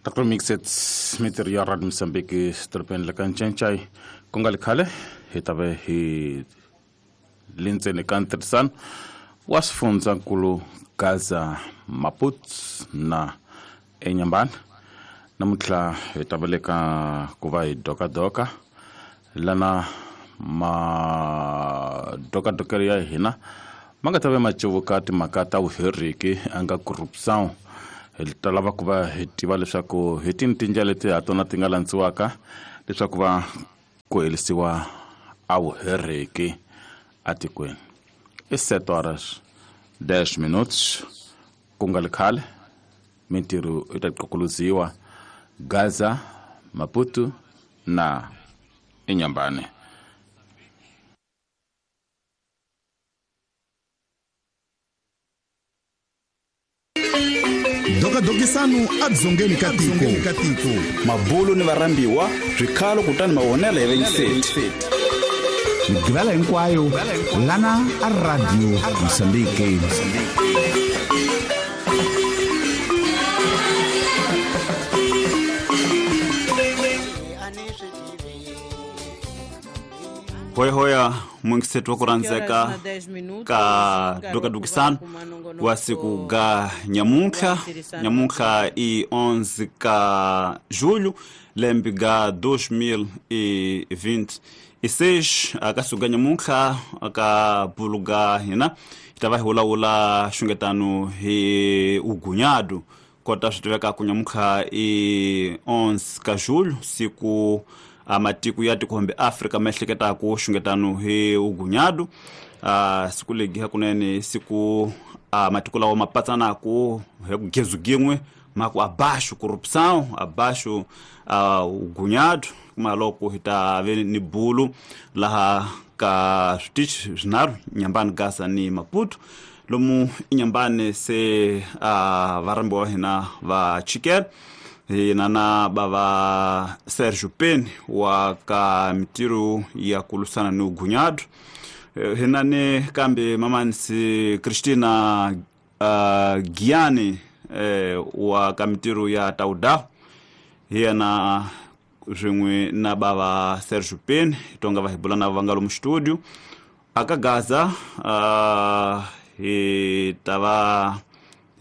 Dr Mixet mitirho ya Radio Mozambique dorobeni la ka Ncencai ku nga li khale hi ta ve hi le ndzeni ka ntirhisano wa swifundzankulu Gaza Maputo na eNyambana. Namuntlha hi ta va le ka ku va hi dokadoka lana madokadokelo ya hina ma nga ta ve ma cevuka timhaka ta vuheriki a nga corruption. Hi ta lava ku va hi tiva leswaku hi tini tindlela leti ha tona ti nga landziwaka leswaku va ku herisiwa a vuheriki atikweni. I 7 horas 10 minutos ku nga li khale mintirho yi ta qokoloziwa Gaza, Maputo na Inhambane. Dokadokisano adzongeni ka tiko. Mabulu ni varhambiwa swikhalo kutani mavonelo ya vayingiseti. Migqivela hinkwayo lana a Radio Mozambique. Hoyahoya mwingiseti wa ku rhandzeka ka dokadokisano wa siku ga nyamuntlha. Nyamuntlha i 11 ka julho lembe ga 2026. Aka siku ga nyamuntlha aka bulu ga hina hi ta va hi vulavula xungetano hi ugunyadu kota swi tiveka ku nyamuntlha i 11 ka julho siku matiko ya tikhombe Afrika ma ehleketaka xungetano hi ugunyadu. Siku legi hakunene siku matiko lawa ma patsanaka hi ku gezu gin'we ma ku abaixo corrupção, abaixo ugunyadu. Kuma loko hi ta ve ni bulu laha ka switichi swinharhu Inhambane, Gaza ni Maputo. Lomu Inhambane se varhambiwa wa hina va chikela hina na bava Sergio Peni wa ka mitirho ya ku lwisana ni ugunyadu. Hina ni kambe mamanisi Cristina Giani wa ka mitirho ya Tauda. Hi yena swin'we na bava Sergio Peni tonga va hi bula na va nga lomu studio. Aka Gaza hi ta va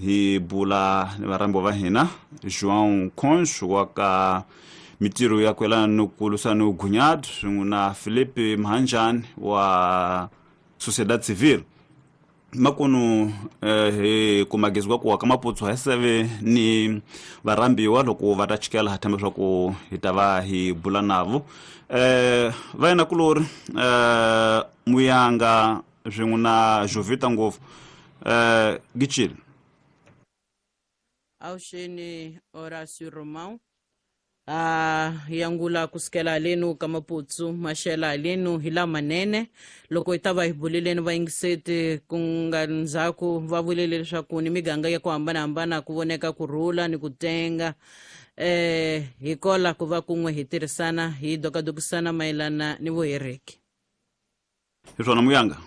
hi bula ni varhambiwa va hina João Concho wa ka mitirho ya ku yelana ni ku lwisana ni ugunyadu swin'we na Felipe Mhanjani wa Sociedade Civil. Makunu hi kumagezi ku wa ka Maputo hi seve ni varhambiwa loko va ta chikela ha themba leswaku hi ta va hi bula navo. Va yena kulori Muyanga swin'we na Jovita ngopfu Gichile. Awuxeni Horacio Romão yangula kusukela halenu ka Maputo maxela halenu hi lamanene. Loko hi ta va hi buleleni vayingiseti ku nga ndzhaku va vulele leswaku ni miganga ya ku hambanahambana ku voneka ku rhula ni ku tenga. Hi kola ku va kun'we hi tirhisana hi dokadokisana mayelana ni vuhereki. Hi swona Muyanga.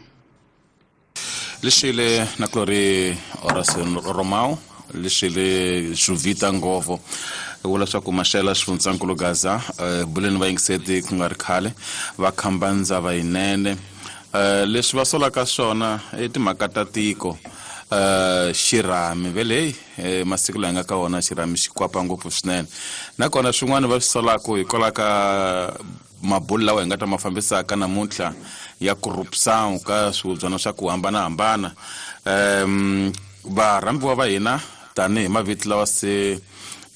Lexile na Glory Horacio Romão lexile Jovita Ngovo vula swa ku maxela xifundzankulu Gaza buleni vayingiseti ku nga ri khale va khamba ndzava yinene. Leswi va solaka swona i timhaka ta tiko. Xirhami vele masiku laha nga ka wona xirhami xi kwapa ngopfu swinene. Nakona swin'wana va swi solaka hikwalaho ka mabulu lawa hi nga ta ma fambisaka namuntlha ya corruption ka swihubyana swa ku hambanahambana. Varhambiwa va hina tanihi mavito lawa se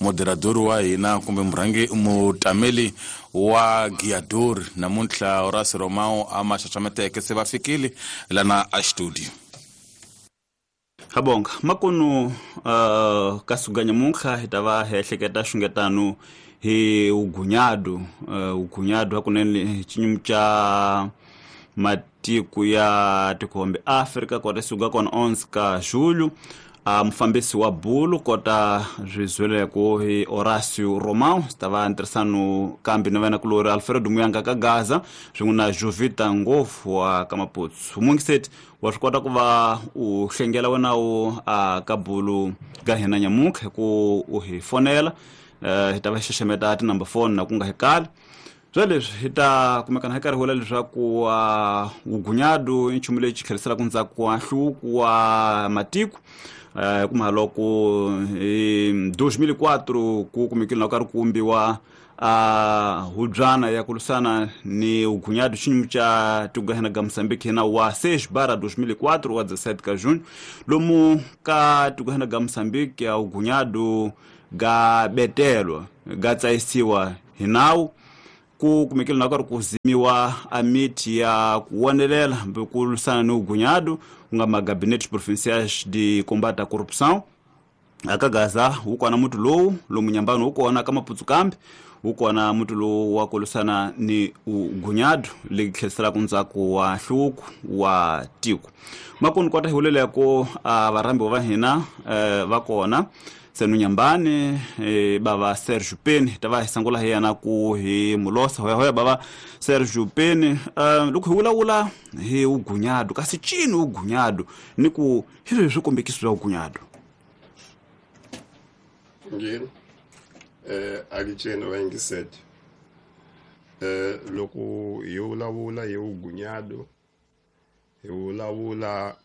moderador wa hina kumbe murhangi mutameli wa Giador namuntlha Horacio Romão a ma xaxameteke se va fikile lana a studio. Habonga makunu ka suka nyamuntlha hi ta va hi ehleketa xungetano hi ugunyadu. Ugunyadu hakunene xinyumu xa matiko ya tikhombe Afrika kota suka kona 11 ka julho. A mufambisi wa bulu kota swi hi Horacio Romão swi ta va ntirhisano kambe na vana kulori Alfredo Muyanga ka Gaza swin'we na Jovita Ngopfu wa ka Maputsu. Mungiseti wa swi kota ku va u hlengela wena u a ka bulu ka hina nyamuntlha hi ku u hi fonela, hi ta va hi xaxameta tinumber phone na ku nga hi kali. Swa leswi hi ta kumekana hi karhi vula leswaku vugunyadu i nchumu lexi tlheriselaka ndzhaku wa nhluvuko wa matiko, kuma loko hi 2004 ku kumekile na ku karhi ku vumbiwa hubyana ya ku lwisana ni vugunyadu xinyumu xa tiko hina ga Mozambique hina wa 6/2004 wa 17 ka junho lomu ka tiko hina ga Mozambique ya vugunyadu ga betelwa ga tsayisiwa hi nawu. Ku kumekile na karhi ku zimiwa a miti ya ku wonelela hambi ku lwisana ni vugunyadu ku nga magabinetes provinciais de combate à corrupção. Aka Gaza wu kona muti lowu lomu Nyambani wu kona, ka Maputsu kambe wu kona muti lowu wa ku lwisana ni vugunyadu leyi tlheriselaka ndzhaku wa nhluvuko wa tiko. Makuni kota hi vuleleko varhambiwa va hina va kona senu Nyambani, bava Sergio Peni ta va hi sangula hi yena ku hi mulosa hoya bava Sergio Peni. Loko hi vulavula hi vugunyadu, kasi cini vugunyadu ni ku hi swihi swikombekiso swa vugunyadu? Ngini akitsheni vayingiseti, loko hi vulavula hi vugunyadu hi vulavula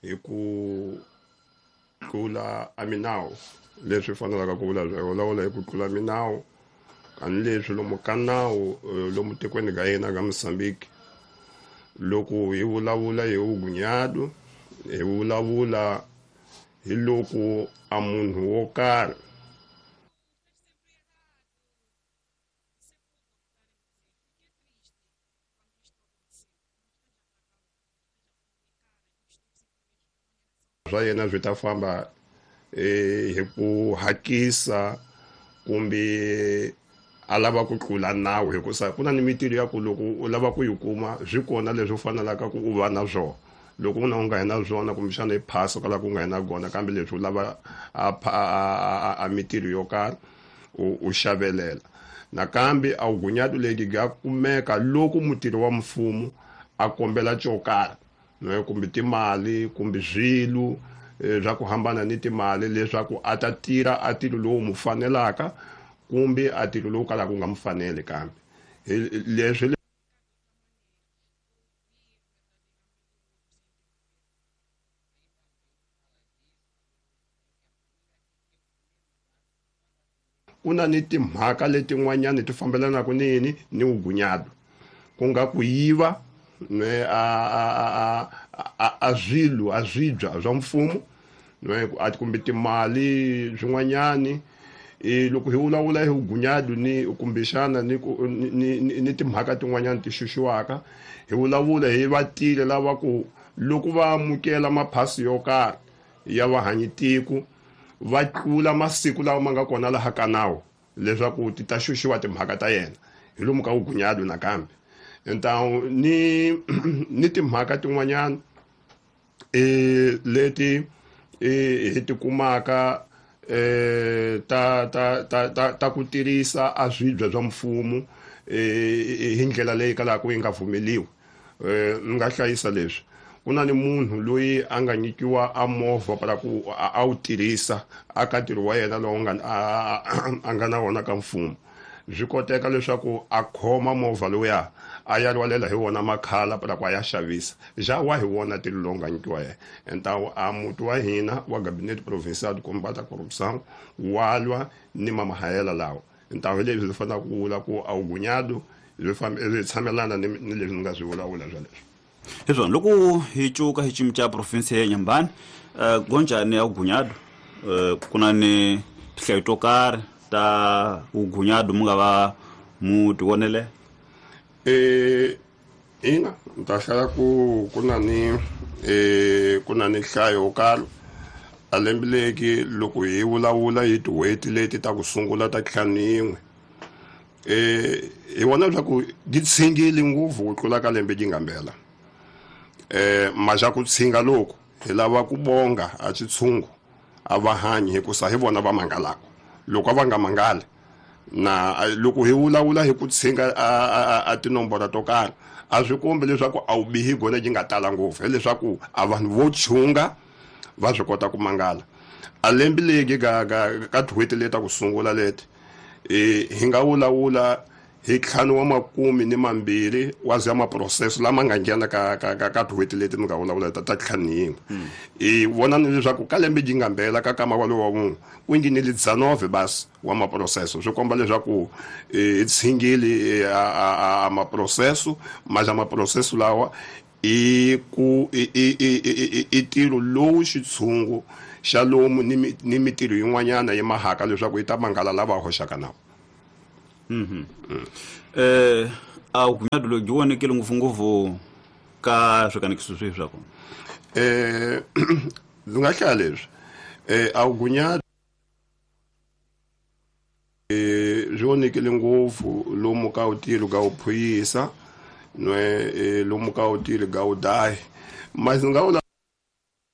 hi ku tlula a minawu, leswi fanelaka ku vula hi vulavula hi ku tlula minawu kanileswi lomu ka nawu lomu tikweni ka hina ka Mozambique. Loko hi vulavula hi vugunyadu hi vulavula hi loko a munhu wo karhi swa yena swi ta famba hi ku hakisa kumbe a lava ku tlula nawu, hikusa ku na ni mintirho ya ku loko u lava ku yi kuma swi kona leswi u fanelaka ku u va na swona. Loko u na u nga hi na swona kumbexana i phasa kwala ku nga hi na kona, kambe leswi u lava a mintirho yo karhi u xavelela. Nakambe a vugunyadu leti bya kumeka loko mutirhi wa mfumo a kombela xo karhi kumbe timali kumbe swilo swa ku hambana ni timali leswaku a ta tirha a ntirho lowu mu fanelaka kumbe a ntirho lowu kalaka wu nga mu faneli. Kambe leswi ku na ni timhaka letin'wanyani ti fambelanaka ni yini ni vugunyadu, ku nga ku yiva a swilo a swibya swa mfumo kumbe timali swin'wanyani. Loko hi vulavula hi vugunyadu ni kumbexana ni timhaka tin'wanyani ti xuxiwaka, hi vulavula hi vatile lava ku loko va amukela maphasi yo karhi ya vahanyitiko va tlula masiku lawa ma nga kona laha ka nawu leswaku ti ta xuxiwa timhaka ta yena hi lomu ka vugunyadu. Nakambe ntawu ni timhaka tin'wanyana leti hi ti kumaka ta ku tirhisa a swibya swa mfumo hi ndlela leyi kalaka yi nga pfumeliwi. Ni nga hlayisa leswi ku na ni munhu loyi a nga nyikiwa a movha para ku a wu tirhisa aka ntirho wa yena lowu nga a nga na wona ka mfumo, swi koteka leswaku a khoma movha lowuya a ya rhwalela hi wona makhala para ku a ya xavisa ja wa hi wona ntirho lowu nga nyikiwa yena. Ntawu a muti wa hina wa Gabinete Provincial de Combate à Corrupção wa lwa ni mamahayela lawa. Ntawu hi leswi swi fanelaka ku vula ku a vugunyadu swi tshamelana ni leswi ni nga swi vulavula swa leswi. Hi swona loko hi cuka hi xiyimo xa province ya Nyambani, gonjani ya vugunyadu, ku na ni tinhlayo to karhi ta vugunyadu mu nga va mu ti vonele? Ina ni ta hlaya ku ku na ni ku na ni nhlayo yo karhi a lembe leki loko hi vulavula hi tin'hweti leti ta ku sungula ta 51, hi vona leswaku ti tshingile ngopfu ku tlula ka lembe yi nga mbela. Maxa ku tshinga loko Hi lava ku bonga a xitshungu a va hanyi hikusa hi vona va mangalaka. Loko a va nga mangali na loko hi vulavula hi ku tshinga a tinomboro to karhi, a swi kombi leswaku a wu bihi gona byi nga tala ngopfu, hileswaku a vanhu vo chunga va swi kota ku mangala. A lembe legi ka tin'hweti leti ta ku sungula leti, hi nga vulavula hi 52 wa za maproseso lama nga nghena ka tin'hweti leti mi nga vulavula ta 51. Hi vona ni leswaku ka lembe byi nga mbela ka kama walowo wa munhu ku nghenile 19 basi wa maproseso. Swi komba leswaku hi tshingile a maproseso, maja maproseso lawa i ku i ntirho lowu xitshungu xa lomu ni mitirho yin'wanyana yi mahaka leswaku yi ta mangala lava hoxaka nawu. A vugunyadu lebyi byi vonekile ngopfungopfu ka swikanekiso swihi swa kona? Ndzi nga hlaya leswi. A vugunyadu byi vonekile ngopfu lomu ka vutilo ka vuphuyisa nwe lomu ka vutilo ka vudahi. Masi nga vula